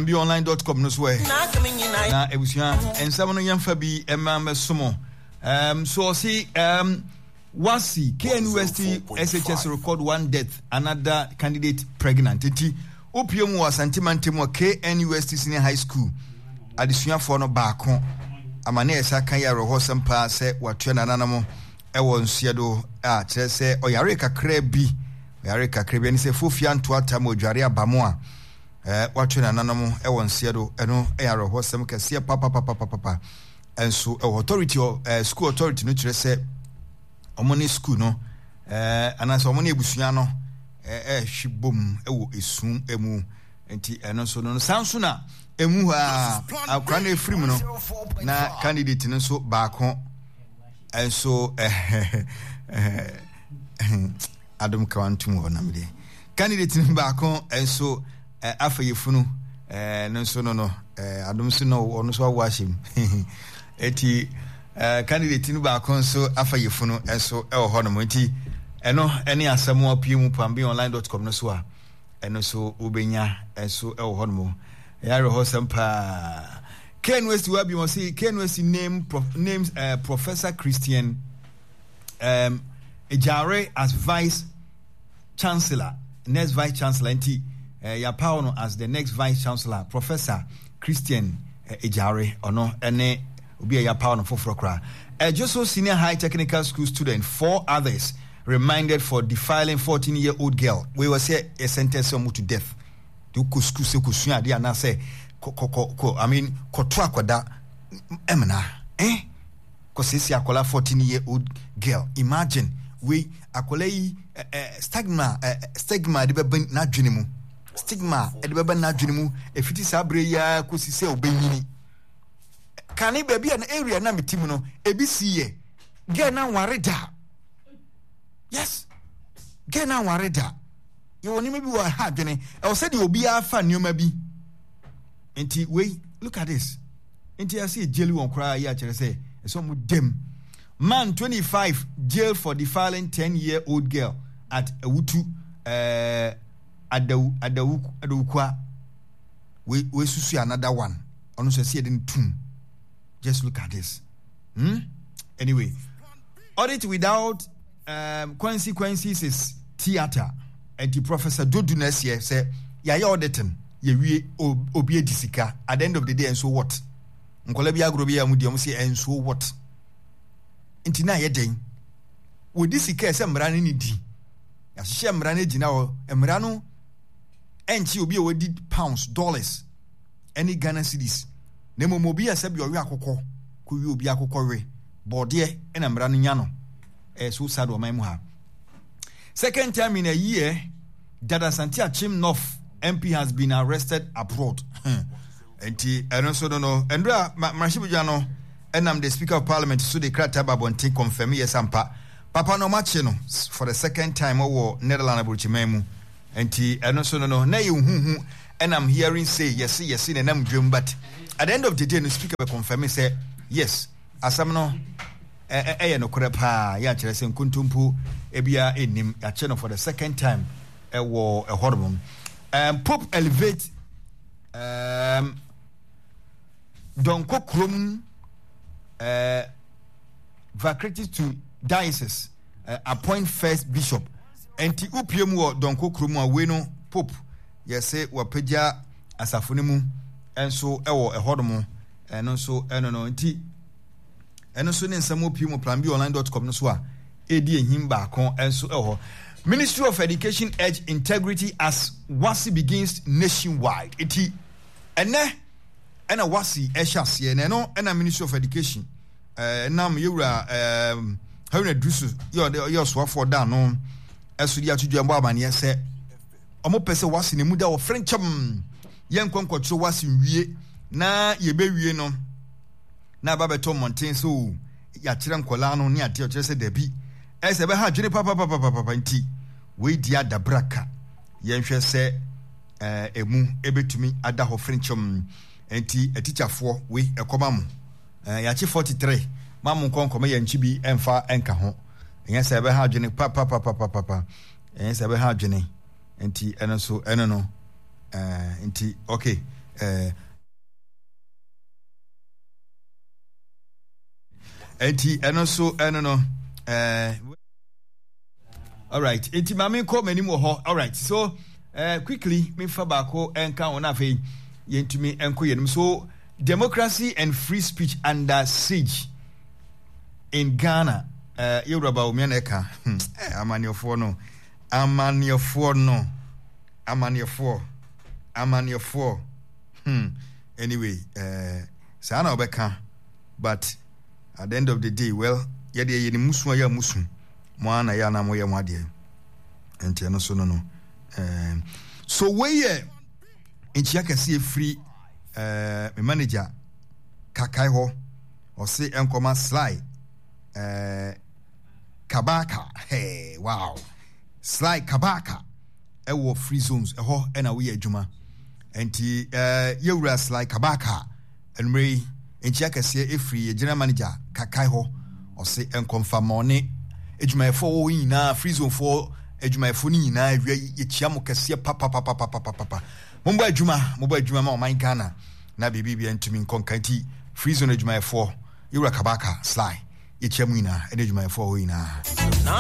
planbonline.com no so ɛ. Na ebusua nsɛm no yɛmfa bi ɛma mɛsomo. So ɔsi WASSCE, KNUST SHS record one death, another candidate pregnant. Nti wopie mu wɔ Asante mantam wɔ KNUST Senior High School adesuafoɔ no baako ama ne ɛsa ka yɛ awerɛhɔsɛm paa sɛ watua nananom ɛwɔ nsuɛ do a kyerɛ sɛ ɔyare kakra bi ɔyare kakra bi ɛne sɛ fofia ntoata ma odware aba mu a wato nananom ɛwɔ nsuɛ do. Ɛno ɛyɛ awerɛhɔsɛm kɛseɛ papapapapapa. Nso ɛwɔ authority ɛɛ school authority no kyerɛ sɛ wɔn ne school no ɛɛ anaasɛ wɔn ne abusua no ɛɛhwe bom ɛwɔ esu mu. Nti ɛno nso no san so na emu hɔ a akora no efiri mu no na candidate no nso baako nso ɛɛ ɛɛ adom kawa ntum hɔ nam deɛ candidate no baako nso. Eh, afa yefunu eh, no nso no no eh, adom so no ɔno nso awo ahyɛ mu. Eti eh, candidate no baako nso afa yefunu nso ɛwɔ hɔ nom. Nti ɛno ɛne asɛm a pie mu pambionline.com no so a ɛno nso wobɛnya nso ɛwɔ hɔ nom. Ɛyɛ awerɛhɔsɛm paa. KNUST wa bi wɔn se KNUST name prof, names Professor Christian Ejare as vice Chancellor, next Vice Chancellor nti eh, yɛapaw no as the next Vice Chancellor, Professor Christian eh, Ejare, ɔno ne obi a yɛapaw no foforɔ koraa. Ejoso Senior High Technical School student, four others reminded for defiling 14-year-old girl. Wei wɔ sɛ yɛ sentence wɔn to death. De wokɔ school sɛ kɔsua adeɛ anaasɛ kɔ kɔ kɔ I mean kɔto akɔda ɛmena eh? Kɔsiesie akwadaa 14 year old girl, imagine wei akwadaa yi eh, eh, stigma eh, stigma de bɛba n'adwene mu, stigma de bɛba n'adwene mu efiti saa abere yi ara kɔsi sɛ ɔbɛnyini. Kane baabi a na area na mete mu no ebi si yɛ girl na nware da. Yes, girl na nware da. Yɛwɔ nneɛma bi wɔ ha adwene ɛwɔ sɛ deɛ obiara fa nneɛma bi nti wei, look at this. Nti ɛsɛ yɛ jail wɔn koraa yi akyerɛ sɛ ɛsɛ wɔn dɛm. Man 25 jail for defiling 10 year old girl at Awutu eh, Adawu Adawu Adawukwa. We we susu another one. Ɔno nso ɛsɛ yɛde no tum. Just look at this. Anyway, audit without consequences is theatre. Nti Professor Dodu na ɛseɛ sɛ yɛayɛ auditing yɛwie obi adi sika at the end of the day nso what? Nkɔla bi agorɔ bi a wɔn di wɔn sɛ nso what? Nti na ayɛ dɛn? Wɔdi sika ɛsɛ mmara no ne di. Yɛahyehyɛ mmara no gyina hɔ. Mmara no ɛnkye obi a wɔdi pounds, dollars ɛne Ghana cedis. Na mmom obi a sɛbi ɔwe akokɔ kɔwie obi akokɔ we bɔɔdeɛ ɛna mmara no nya no. Ɛyɛ so sad wɔ ɔman mu ha. Second time in a year that Asante Akyem North MP has been arrested abroad. Nti ɛno nso no no ɛnura mmarahyɛbadwa no ɛnam the Speaker of Parliament so de krataa ba abɔnten confirm yɛ sampa papa no ɔmakye no for the second time wɔ Netherlands aburokyiman mu. Nti ɛno nso no no na yɛ huhu ɛnam hearing say yɛse yɛse na ɛnam dwam, but at the end of the day no Speaker bɛ confirm sɛ yes, asɛm no ɛyɛ nokorɛ paa, yɛ akyerɛ sɛ nkontompo biara nnim. Yɛakyɛ no for the second time ɛwɔ ɛhɔ nom. Pope elevate Dɔnkɔ kurom vacritis to diocese, appoint first bishop. Nti wopie mu wɔ Dɔnkɔ kurom a wei no Pope yɛse wapagya asafo no mu nso ɛwɔ ɛhɔ nom. Ɛno nso ɛno no nti ɛno nso ne nsɛm wɔ pii mu planbonline.com no so a ɛredi ehim baako nso ɛwɔ hɔ. Ministry of Education urge integrity as WASSCE begins nationwide. Eti ɛnɛ ɛna WASSCE ɛhyɛ aseɛ na ɛno ɛna Ministry of Education ɛnam yɛwura ɛɛ Haruna Iddrisu yɛ ɔde yɛ ɔsoafoɔ da ano ɛso de ato dwa mbɔ amaneɛ sɛ wɔn pɛ sɛ WASSCE na emu da wɔ frenkyɛm yɛn nkɔnkɔkyerɛ WASSCE nwie na yɛbɛwie no na aba bɛtɔ mmɔnten sɛ o yɛakyerɛ nkwadaa no ne adeɛ ɔkyerɛ sɛ dabi ɛsɛ ɛbɛha adwene papapapapapa nti wei di adabraka yɛnhwɛ sɛ ɛɛ emu ebetumi ada hɔ frenkyɛm nti atikyafoɔ wei ɛkɔma mo ɛɛ yɛakye 43 ma mo nkɔ nkɔmɔ yɛn nkyi bi ɛnfa ɛnka ho ɛnyɛ sɛ ɛbɛha adwene papapapapapa ɛnyɛ sɛ ɛbɛha adwene nti ɛno nso ɛno no. Eh, nti okay. Eh, enti ɛno nso ɛno no eh, alright enti maame nkɔ m'anim wɔ hɔ alright so eh, quickly mefa baako nka ho na afei yɛntumi nkɔ yɛn so democracy and free speech under siege in Ghana eh, yɛwura Bawumia na ɛka hmm, eh, amanneɛfoɔ no amanneɛfoɔ no amanneɛfoɔ amanneɛfoɔ hmm anyway eh, saa na wɔbɛka but at the end of the day well yɛdeɛ yɛ ne musu a yɛ musu mo ara na yɛ anaa moyɛ mo adeɛ nti ɛno so no no eh, so wei yɛ nkyia kɛseɛ firi eh, me manager kakae hɔ ɔse ɛnkɔma sly eh, kabaka hey, wow sly kabaka ɛwɔ free zones ɛhɔ ɛna woyɛ adwuma nti eh, yɛwura sly kabaka anumere yi nkyia kɛseɛ ɛfiri yɛ general manager kakae hɔ ɔse ɛnkɔmfa ma ɔne adwumayɛfoɔ wɔ hɔ nyinaa free zone foɔ adwumayɛfoɔ no nyinaa awia yɛkyia mo kɛseɛ papapapapapapa mombɔ adwuma mobɔ adwuma ma ɔman Ghana na biribi bia ntumi nkɔ nka nti free zone adwumayɛfoɔ yɛwura kabaka sly yɛkyia mu nyinaa ɛne adwumayɛfoɔ hɔ nyinaa.